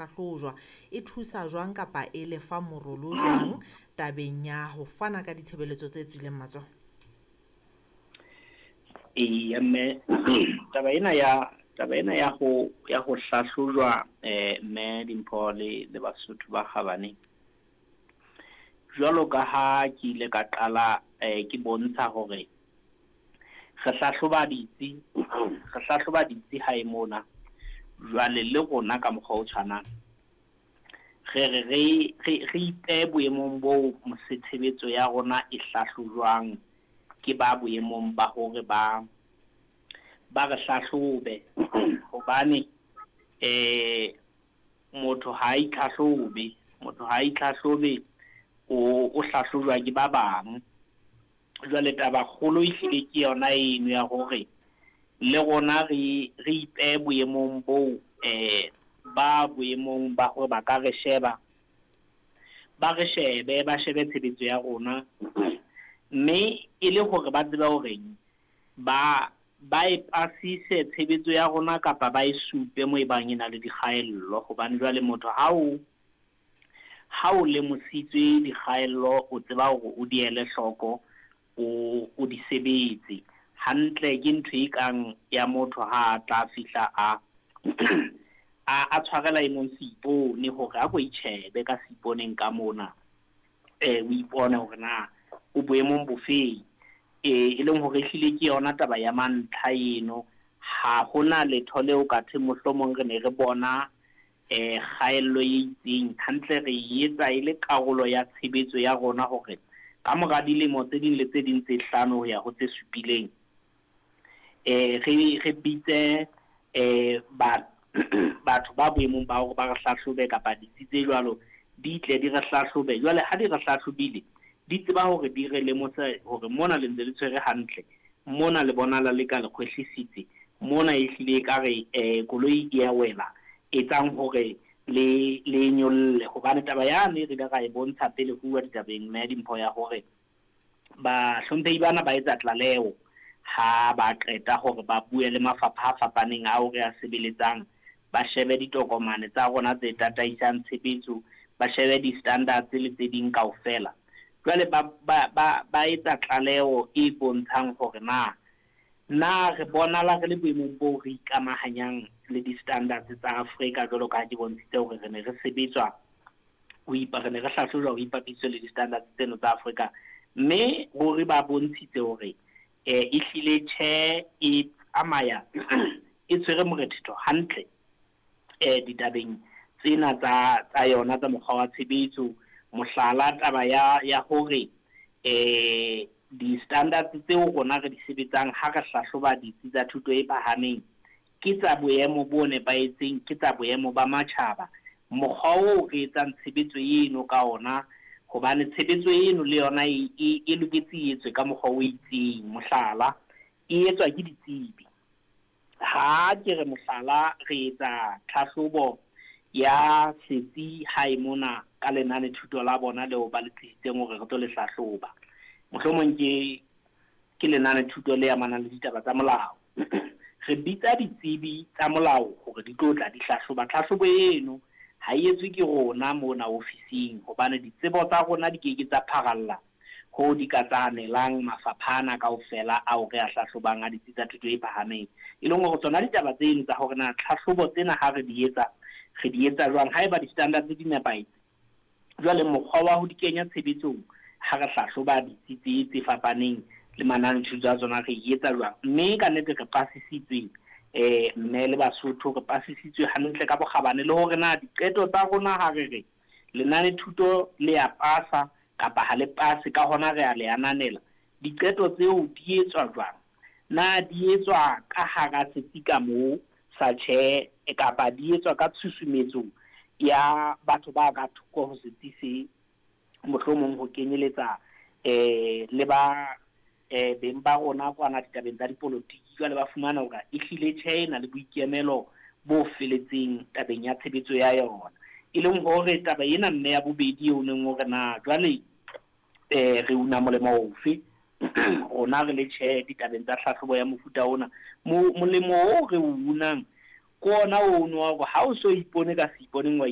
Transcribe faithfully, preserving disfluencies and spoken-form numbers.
Hlahlojwa e thusa jwang kapa e lefa morolo jwang tabeng ya ho fana ka ditshebeletso tse tswileng matsoho? Eya mme, taba ena ya taba ena ya ho ya ho hlahlojwa eh mme Dimpho le le Basotho ba kgabane. Jwalo ka ha ke ile ka qala eh ke bontsha hore re hlahloba ditsi, re hlahloba ditsi hae mona. Jwale le rona ka mokgwa o tshwanang re re re re re ipehe boemong boo tshebetso ya rona e hlahlojwang ke ba boemong ba hore ba ba re hlahlobe hobane eh motho ha itlhahlobe, motho ha itlhahlobe o o hlahlojwa ke ba bang. Jwale taba kgolo ehlile ke yona eno ya hore le rona re re ipehe boemong boo eh ba boemong ba hore ba ka re sheba, ba re shebe ba shebe tshebetso ya rona, mme e le hore ba tsebe hore ba ba e pasise tshebetso ya rona kapa ba e supe mo e bang e na le dikgaello. Hobane jwale motho ha o ha o lemositswe dikgaello, o tseba hore o di ele hloko, o o di sebetse hantle. Ke ntho e kang ya motho ha a tla fihla a a a tshwarela e mong seipone hore a ko itjhebe ka seiponeng ka mona, eh o ipone hore na o boemong bofeng. E leng hore ehlile ke yona taba ya mantlha eno. Ha hona letho leo ka thweng mohlomong re ne re bona eh kgaello e itseng. Hantle re e etsa e le karolo ya tshebetso ya rona hore ka mora dilemo tse ding le tse ding tse hlano ho ya ho tse supileng, eh re re bitse eh ba batho ba boemong ba hore ba re hlahlobe kapa ditsi tse jwalo di tle di re hlahlobe. Jwale ha di re hlahlobile, di tseba hore di re lemose hore mona le ntse le tshwere hantle, mona le bonahala le ka le kgwehlisitse, mona ehlile ekare eh koloi e ya wela, etsang hore le le nyolle. Hobane taba yane re ile ra e bontsha pele ho uwa ditabeng mme Dimpho ya hore bahlomphehi bana ba etsa tlaleho ha ba qeta hore ba bue le mafapha a fapaneng ao re a sebeletsang, ba shebe ditokomane tsa rona tse tataisang tshebetso, ba shebe di-standards le tse ding kaofela. Jwale ba ba ba ba etsa tlaleho e bontshang hore na na re bonahala re le boemong boo re ikamahanyang le di-standards tsa Afrika, jwalo ka ha ke bontshitse hore re ne re sebetswa ho ipa re ne re hlahlojwa ho ipapisitswe le di-standards tseno tsa Afrika. Mme ruri ba bontshitse hore eh ehlile tjhe e tsamaya e tshwere morethetho hantle eh ditabeng tsena tsa tsa yona tsa mokgwa wa tshebetso. Mohlala, taba ya ya hore eh di-standards tseo rona re di sebetsang ha re hlahloba ditsi tsa thuto e phahameng ke tsa boemo bo nepahetseng, ke tsa boemo ba matjhaba. Mokgwa oo re etsang tshebetso eno ka ona, hobane tshebetso eno le yona e e e loketse e etswe ka mokgwa o itseng. Mohlala, e etswa ke ditsebi. Ha ke re mohlala, re etsa tlhahlobo ya setsi hae mona ka lenane thuto la bona leo ba le tlisitseng hore re tlo le hlahloba. Mohlomong ke ke lenane thuto le amanang le ditaba tsa molao. Re bitsa ditsebi tsa molao hore di tlo tla di hlahloba. Tlhahlobo eno ha e etswe ke rona mona ofising, hobane ditsebo tsa rona di keke tsa pharalla ho di ka tsa anelang mafapha ana kaofela ao re a hlahlobang a ditsi tsa thuto e phahameng. E leng hore tsona ditaba tseno tsa hore na tlhahlobo tsena ha re di etsa, re di etsa jwang, haeba di-standards di nepahetse. Jwale mokgwa wa ho di kenya tshebetsong ha re hlahloba ditsi tse tse fapaneng le manane thuto a tsona re e etsa jwang. Mme ka nnete re pasisitswe eh mme le Basotho re pasisitswe hantle ka bokgabane, le hore na diqeto tsa rona ha re re lenane thuto le ya pasa kapa ha le pase, ka hona re a le ananela. Diqeto tseo di etswa jwang? Na di etswa ka hara setsi ka moo sa tjhe, kapa di etswa ka tshusumetso ya batho ba ka thoko ho setsi se, mohlomong ho kenyeletsa eh le ba eh beng ba rona kwana ditabeng tsa dipolotiki. Jwale ba fumana hore ehlile tjhe e na le boikemelo bo feletseng tabeng ya tshebetso ya yona. E leng hore taba ena mme ya bobedi eo neng hore na jwale eh re una molemo ofe rona re le tjhe ditabeng tsa tlhahlobo ya mofuta ona. Molemo o re o unang ke ona ono wa hore ha o so ipone ka seiponeng wa